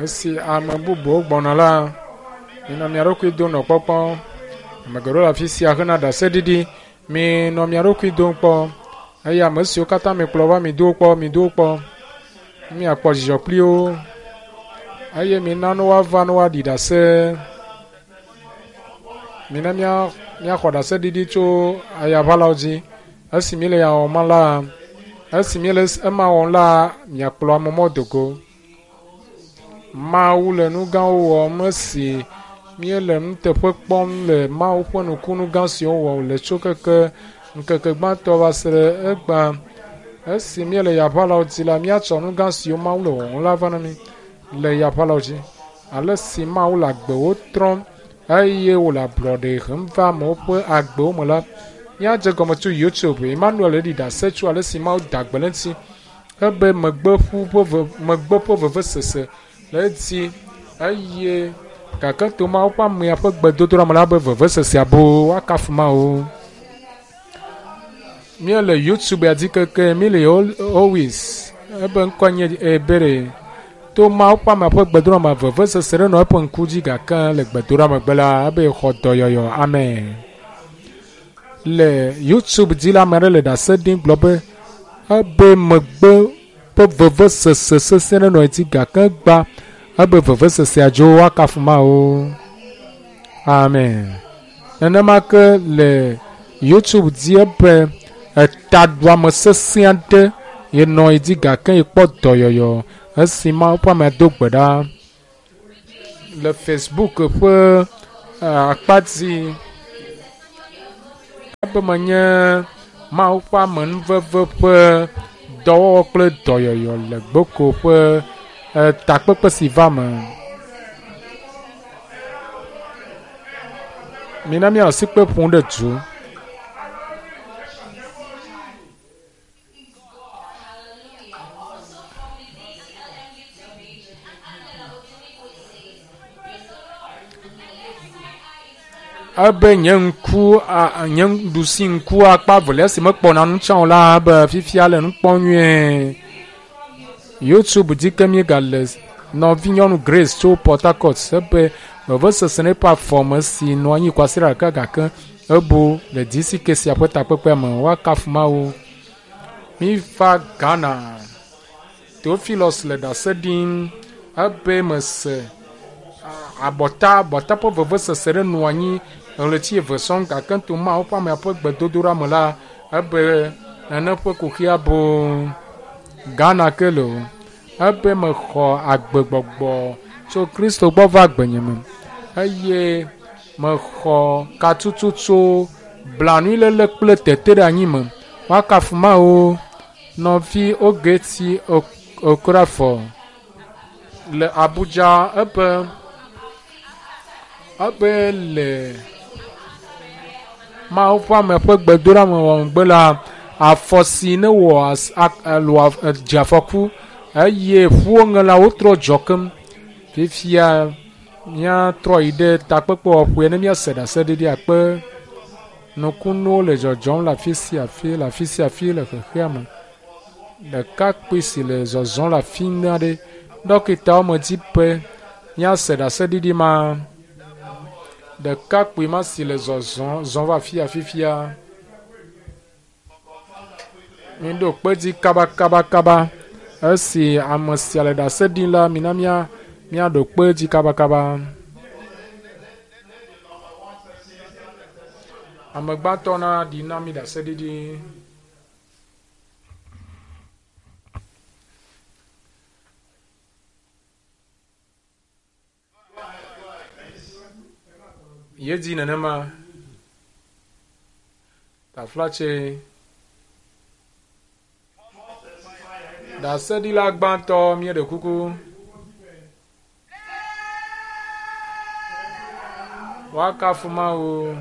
Esi ame bubuwo gbɔna la, minɔ mia ɖokui dom nɔ kpɔkpɔm. Ame geɖewo le afi sia hena ɖaseɖiɖi. Minɔ mia ɖokui dom kpɔ eye ame siwo katã mikplɔ va mido wo kpɔ, mido wo kpɔ. Miakpɔ dzidzɔ kpli wo eye mina ne woava ne woaɖi ɖase. Mina mía míaxɔ ɖaseɖiɖi tso ayaʋalawo dzi. Esi míele ya wɔm la, esi míele ema wɔm la, miakplɔ ame mɔ do go. Mawu le nu gãwo wɔm esi míele nuteƒe kpɔm le Mawu ƒe nukunu gã siwo wɔm wòle tso keke ŋkeke gbãtɔ va se ɖe egbea. Esi míele yaʋalawo dzi la, míatsɔ nu gã siwo Mawu le wɔwɔm la va na mí le yaʋalawo dzi. Ale si Mawu le agbewo trɔm eye wòle ablɔɖe hem va amewo ƒe agbewo me la, míadze gɔme tso YouTube. Emmanuel ɖi ɖase tso ale si Mawu da gbe le eŋuti ebe megbe ƒu ƒe ve megbe ƒe vevesese le edzi eye gake to Mawu ƒe amea ƒe gbedodoɖa me la be vevesesea boo woakafu Mawu. Míele YouTube ya dzi keke míle always ebe ŋkɔ nye Ebere. To Mawu ƒe amea ƒe gbedodoɖa me vevesese ɖe nɔ eƒe ŋku dzi gake le gbedodoɖa megbe la ebe xɔ dɔyɔyɔ. Amen. Le YouTube dzi la ame aɖe le ɖase ɖim gblɔ be ebe megbe ƒe vevesese sesẽ ɖe nɔ edzi gake gba ebe vevesesea dzo woakafu Mawu. Amen. Nenema ke le YouTube dzi ebe etaɖuame sesẽ aɖe yenɔ edzi gake yekpɔ dɔyɔyɔ esi Mawu ƒe amea do gbe ɖa. Le Facebook ƒe akpa dzi ebe menye Mawu ƒe amenuveve ƒe dɔwɔwɔ kple dɔyɔyɔ le Gboko ƒe takpekpe si va me. Mina míanɔ sikpe ƒom ɖe du. Ebe nye ŋku nye ɖusi ŋku akpa velia si mekpɔna nu tsã o la ebe fifia le nu kpɔm nyuie. YouTube dzi ke míegale nɔvinyɔnu Grace tso Port Harcourt ebe vevesese na eƒe afɔme si nɔ anyi kwasiɖa ɖeka gake ebu le DCK sia ƒe takpekpea me. Woakafu Mawu. Míva Ghana. Theophilus le ɖase ɖim ebe mese abɔta abɔta ƒe vevesese ɖe nɔ anyi ɣleti eve sɔŋ gake to Mawu ƒe amea ƒe gbedodoɖa me la ebe nane ƒe kuxia boo. Ghana ke le o. Ebe mexɔ agbegbɔgbɔ tso Kristo gbɔ va agbenye me eye mexɔ katutu tso blanuiléle kple teteɖeanyi me. Woakafu Mawu. Nɔvi Ogechi Okorafor le Abuja ebe ebe le Mawu ƒe ame ƒe gbedoɖa me megbe la, afɔ si ne wɔ dze afɔku eye ƒuwo ŋe la wotrɔ dzɔ keŋ. Fifia míatrɔ yi ɖe takpekpewɔƒea ne míase ɖaseɖiɖi akpe. Nukunuwo le dzɔdzɔm le afi sia afi le afi sia afi le xexea me. Ɖekakpui si le zɔzɔm le afi aɖe. Ɖɔkitawo medi be míase ɖaseɖiɖi ma. Ɖekakpui ma si le zɔzɔm zɔm va afi ya fifia. Míɖo kpe dzi kabakabakaba. Esi ame sia le ɖase ɖim la, mina mía míaɖo kpe dzi kabakaba. Ame gbãtɔ na ɖi na mí ɖaseɖiɖi. Yedzi nenema. Taflatse. Ɖaseɖila gbãtɔ míeɖe kuku. Woakafu Mawu.